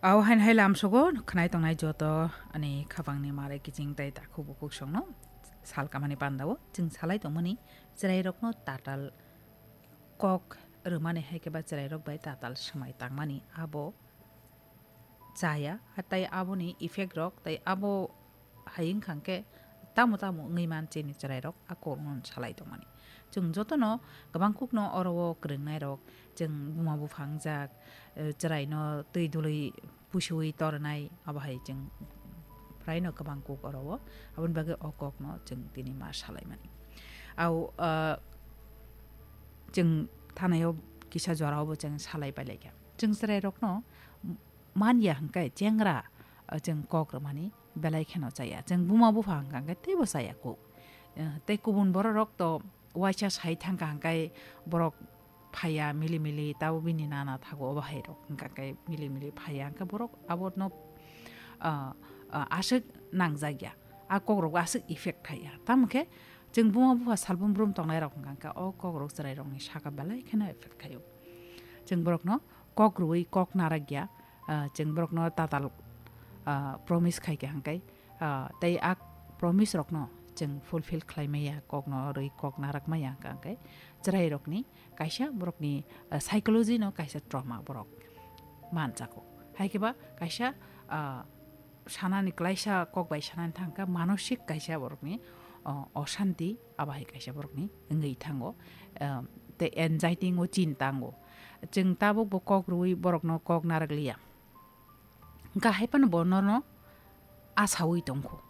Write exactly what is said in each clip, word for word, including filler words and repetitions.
Au hain hai lamsogo khwnai tongnai joto ani khapangni mare kiching tai takhuk bukhuk songno sal kamani pandao chwng salai tongmani chwrairokno tatal kok rwmani hai khe ba chwrairok bai tatal swmai tangmani abo chaya, tei aboni effect rok, tei abo hai wngkha khe tamo tamo wngwi man chini chwrairok a kokno salai tongmani. Chwng jotono kwbang kukno oro o kwrwngnairok, chwng buma buphang jak, eh, chwraino twi dului pusiwi tornai, abo hai chwng phraino kwbang kuk oro o, aboni bagwi o kokno chwng tini ma salaimani. Au, ah, chwng thanaio kisa jorao bo chwng salai pailaikha. Chwng chwrairokno man ya hwnkhe chengra, ah, chwng kok rwmani belai kheno chaya. Chwng buma bupha hwnkha hwnkhe teibo chaya kuk. Eh, tei kubun bororok to waisa sai thangkha hwnkhe borok phaiya mili mili, tabo bini nana thago obo hai rok hwnkha khe mili mili phaiya hwnkhe borok abono, ah, ah, aswk nangjak ya. A kok rok aswk effect khai ya. Tamo khe chwng buma bupha salbrum brum tongnai rok hwnkha khe o kok rok chwrai rokni saka belai kheno effect khaio. Chwng borokno kok rwui kok narak ya, ah, chwng borokno tatal, ah, promise khai kha hwnkhe, ah, tei a promise rokno chwng fulfill khlai maya, kokno rwi kok narak maya hwnkha hwnkhe chwrai rokni kaisa borokni, ah, psychology no kaisa trauma borok manjago. Hai khe ba kaisa, ah, sanani klaisa kok bai sanani thangkha manosik kaisa borokni, ah, oshanti abo hai kaisa borokni wngwi thango, ah, tei anxiety o chinta wngo. Chwng tabuk bo kok rwui borokno kok narak liya. Hwnkha hai phano bo norno asaui tongkho.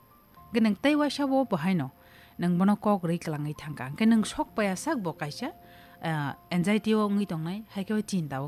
Hwnkhe nwng tei waisa bo bo haino nwng bono kok rwi kwlangwi thangkha. Hwnkhe nwng sok paiya sak bo kaisa, ah, anxiety o wngwi tongnai, hai khe o chinta o